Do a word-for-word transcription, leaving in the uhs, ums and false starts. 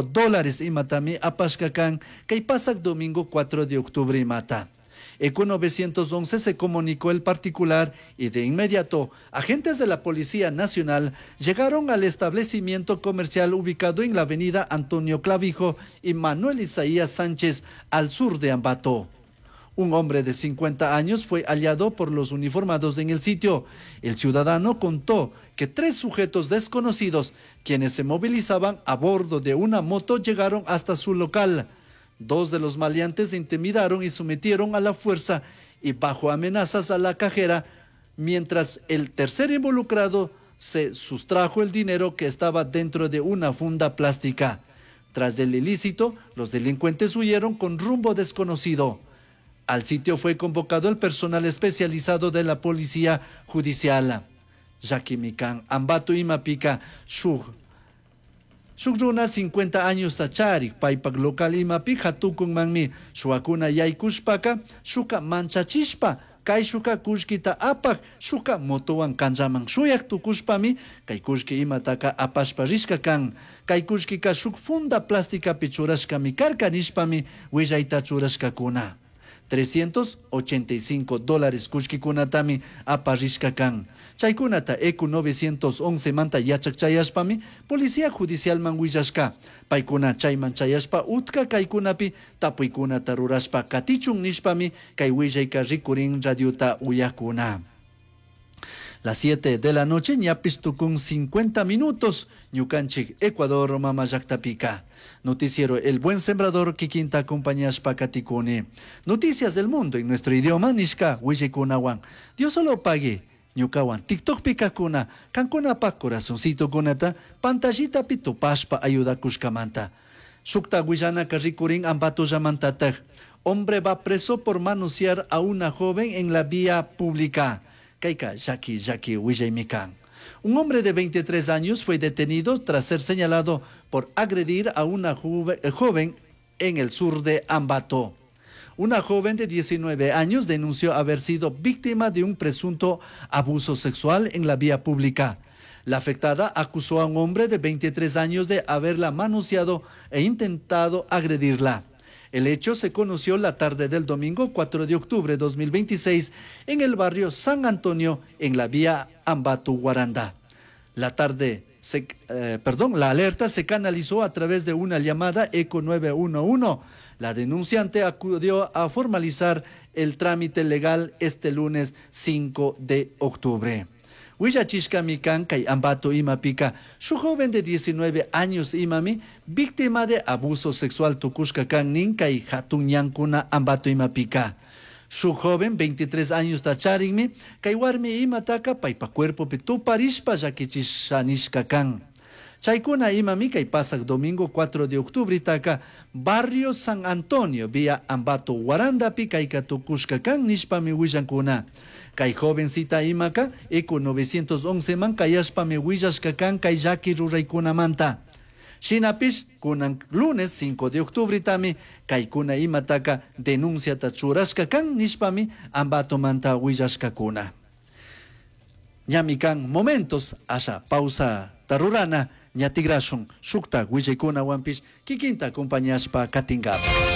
Dólares imatami apashka kan kay pasak domingo cuatro de octubre imata. ECU novecientos once se comunicó el particular y de inmediato agentes de la Policía Nacional llegaron al establecimiento comercial ubicado en la avenida Antonio Clavijo y Manuel Isaías Sánchez al sur de Ambato. Un hombre de cincuenta años fue hallado por los uniformados en el sitio. El ciudadano contó que tres sujetos desconocidos, quienes se movilizaban a bordo de una moto, llegaron hasta su local. Dos de los maleantes intimidaron y sometieron a la fuerza y bajo amenazas a la cajera, mientras el tercer involucrado se sustrajo el dinero que estaba dentro de una funda plástica. Tras el ilícito, los delincuentes huyeron con rumbo desconocido. Al sitio fue convocado el personal especializado de la Policía Judicial. Llakimi kan, Ambato imapica, shuk. Shuk runa cincuenta años charik, paypak local imapi hatukunmanmi, shuwakuna yaykushpaka, shuka manchachishpa, kayshuka kullkita apak, shuka motowan kanllaman shuyak tukushpami, kay kullki imataka apashpa rishka kan. Kay kullkika shuk funda plastikapi churashkami karka nishpami willayta churashkakuna. trescientos ochenta y cinco dólares kullkikunatami aparishka kan. Chaykunata ECU novecientos once manta yachak chayashpami Policía Judicialman willashka. Paykuna chayman chayashpa utka kaykunapi tapuykunata rurashpa katichun nishpami kay willayka rikurin radiota uyakuna. Las siete de la noche, ñapis tukun cincuenta minutos, ñukanchik Ecuador mama llaktapika. Noticiero El Buen Sembrador, kikinta acompañashpa katikuni. Noticias del mundo en nuestro idioma, nishka willikunawan. Dios solo pague, ñukawan TikTok pikakuna, kankunapa corazoncito kunata, pantallita pitupashpa ayudakushkamanta. Shukta willanaka rikurin Ambato llamantataj. Hombre va preso por manosear a una joven en la vía pública. Kayka llaki llaki willaymikan. Un hombre de veintitrés años fue detenido tras ser señalado por agredir a una juve-, eh, joven en el sur de Ambato. Una joven de diecinueve años denunció haber sido víctima de un presunto abuso sexual en la vía pública. La afectada acusó a un hombre de veintitrés años de haberla manoseado e intentado agredirla. El hecho se conoció la tarde del domingo cuatro de octubre de dos mil veintiséis en el barrio San Antonio, en la vía Ambato-Guaranda. La tarde se, eh, perdón, la alerta se canalizó a través de una llamada ECU nueve uno uno. La denunciante acudió a formalizar el trámite legal este lunes cinco de octubre. Willachishka mikan kay Ambato imapika, su joven de diecinueve años imami, víctima de abuso sexual tukushka kan nin kay hatun ñankuna Ambato imapika. Su joven, veintitrés años tacharinmi, kay warmi imataka paypa cuerpo tuparishpa llakichishanishka kan. Chaykuna imami kay pasak domingo cuatro de octubre taka barrio San Antonio vía Ambato Guarandapi kayka tukushka kan nishpami willankuna. Kay jovencita imaka ECU novecientos once man kayashpami willashka kan kay llaki ruraykunamanta. Shinapish kunan lunes cinco de octubre tami kaykuna imataka denunciata churashka kan nishpami Ambato manta willashkakuna. Ñami kan momentos asha pausa tarurana ñatigrashun shukta willaykuna wampish kikinta acompañashpa katingapa.